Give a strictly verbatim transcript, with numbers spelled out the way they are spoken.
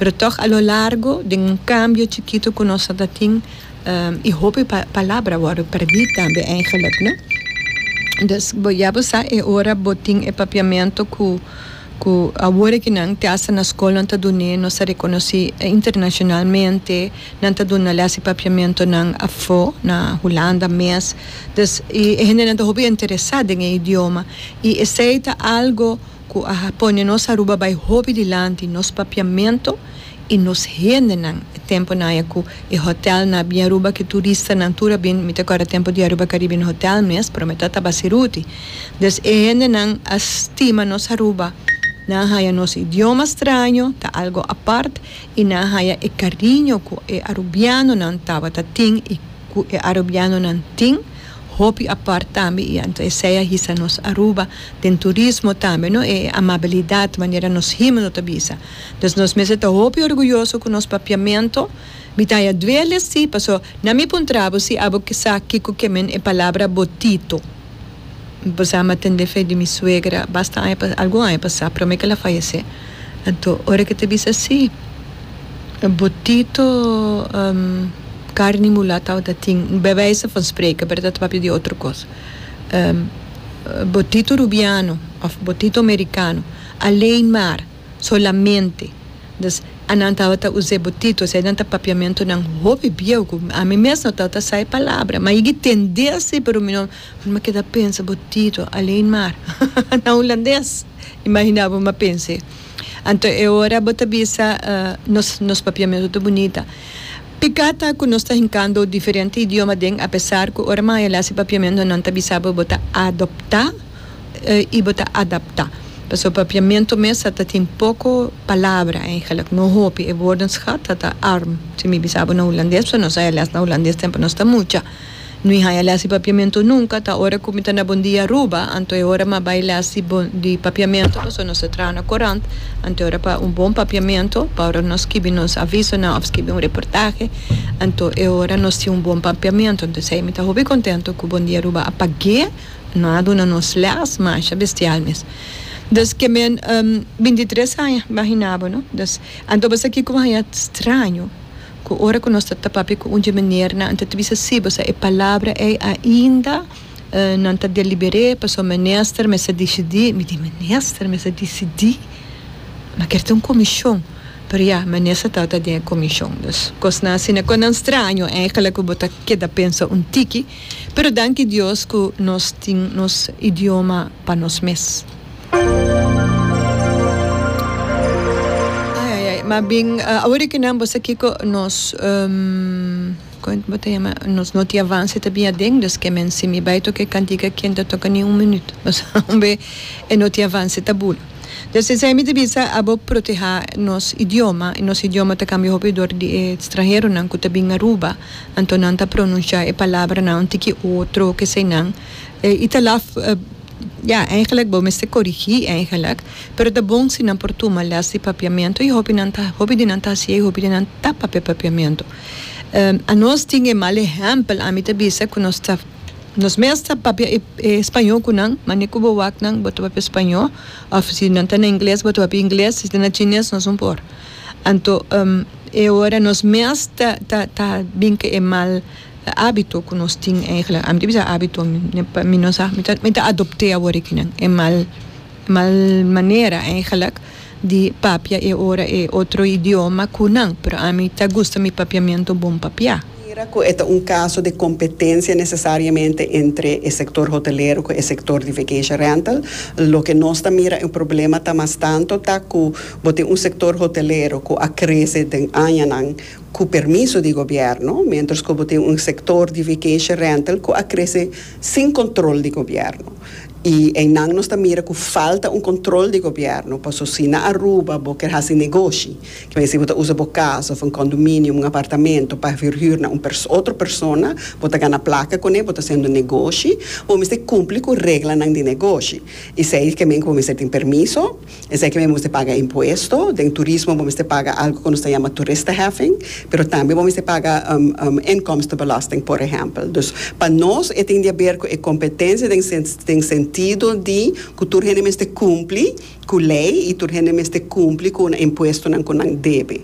Pero toch a lo largo di un cambio chikito cu nos tin um, y hopi pa palabra worden perdi tambe eigenlijk, no? Dus bo ya bo sa e ora bo tin e papiamento cu cu awor cu nan te hasta na scol nan ta dune, nos a reconoce internacionalmente, nan ta duna les di papiamento nan afo na Hulanda mes. Dus e hende nan ta hopi interesa den e idioma y esey ta algo cu a pone nos Aruba bay hopi dilanti, nos papiamento y nos hendenan. Tempo na ya cu e hotel na bin Aruba, cu turista nan tur a bin, mi ta corda tempo di Aruba Caribbean Hotel mes, pero mi tata basiruti. Dus e hendenan a stima nos Aruba. Nan a haya nos idioma straño, ta algo apart, y nan a haya e cariño cu e arubiano nan tabata tin y cu e arubiano nan tin hopi apart tambe. Y anto esey a hisa nos Aruba den turismo tambe, no? E amabilidad, manera nos himno ta bisa. Dus nos mester ta hopi orguyoso cu nos papiamento. Mi ta ya duele si, paso na mi puntrabo si abo ke sa kiko ke men e palabra botito. Bo m'a tende fe di mi suegra basta aña, algun aña pasa, prome cu el a fayece. Anto ora cu e ta bisa si botito um, carne mulata dat tin, bij wijze van spreken, maar dat papia di otro cos. Um, botito rubiano of botito americano, alleen maar, solamente. Dus anan tawata use botito, esey nan ta papiamento nan hopi bieu, cu ami mes no tawata sa e palabra, ma yega tende asina, pero mi no, m'a keda pensa botito, alleen maar. Na hulandes, imagina bo, m'a pensa. Anto e ora bo ta bisa uh, nos nos papiamento ta bunita. Pica ta cu nos ta hincando diferente idioma den, apesar cu ora m'a les papiamento nan ta bisa bo ta adopta uh, y bo ta adapta. Paso papiamento mes ta tin poco palabra eigenlijk, no hopi, e woordenschat ta arm. Si mi bisa bo na hulandes, nos a les na hulandes tempo nos ta mucha. No haya les papiamento nunca, ta ora cu mi ta na Bon Dia Aruba, anto e ora m'a bay les di papiamento, paso nos traha na corant, anto ora pa un bon papiamento, pa ora nos skirbi nos aviso na of skirbi un reportahe, anto e ora nos tin un bon papiamento. Anto esey mi ta hopi contento cu Bon Dia Aruba a pag'e, nan a duna nos les, masha bestial mes. Dus cu men um, bintitres aña, imagina bo, no? Dus, anto basta aki como haya straño, cu ora cu nos ta papia cu un meneer na, anto bisa si, bo e palabra e ainda uh, nan ta deliberé, paso minister mester dicidi. Mi di, minister mester dicidi? Ma kier tin un comision. Pero ja, minister ta den comision. Dus cosnan asina, con straño eigenlijk cu bo ta keda pensa un tiki, pero danki Dios cu nos tin nos idioma pa nos mes. Ai ai ai, maar bin uh, awor cu nan bo kiko nos um, con bo ta yama, nos no tin avance ta bin aden, dus cu men si mi bay toca cantica kien ta toca ni un minuut. Mas be e no tin avance ta bula. Dus esey mi bisa, abo proteha nos idioma, y nos idioma ta cambia hopi door di stranhero nan cu ta bin Aruba, anto nan ta pronuncia e palabra nan un tiki otro cu esey nan. E ta laf uh, ja, eigenlijk bo mester corrigi eigenlijk, pero ta bon si nan por tuma les di papiamento y hopi nan ta, hopi di nan ta si, hopi di nan ta papia papiamento. Um, a nos tin e mal ehempel, ami ta bisa cu nos ta nos mes ta papia e, e spaño cu nan, mane cu bo wak nan, bo ta papia spaño, of si nan ta na ingles, bo ta papia ingles, si ta na chines, nos no por. Anto, um, e ora nos mes ta, ta, ta bin cu e mal habito cu nos tin eigenlijk. Ami ta bisa habito, mi, mi no sa, mi ta, mi ta adopta awor aki nan, e mal, mal manera eigenlijk di papia e ora e otro idioma cu nan, pero ami ta gusta mi papiamento bon papia. Mira cu e ta un caso di competencia necesariamente entre e sector hotelero y e sector di vacation rental. Loke nos ta mira un problema ta mas tanto ta cu bo tin un sector hotelero cu a crece den añanan cu permiso di gobierno, mientras cu bo tin un sector di vacation rental cu a crece sin control di gobierno. Y einan nos ta mira cu falta un control di gobierno, paso si na Aruba bo kier haci negoshi, cu si bo usa bo cas of un condominio, un apartamento pa verhuur na un pers otro persona, bo ta gana placa cune, bo ta haciendo negoshi, bo mester cumpli cu reglanan di negoshi. Esey kiermen cu bo tin permiso, esey kiermen bo paga impuesto, den turismo bo paga algo cu nos ta yama toeristenheffing, pero tambe bo paga um, um, inkomstenbelasting, por ehempel. Dus pa nos e tin di haber cu e competencia den, den sentido di cu tur hende mester cumpli cu ley y tur hende mester cumpli cu impuesto nan cu nan debe.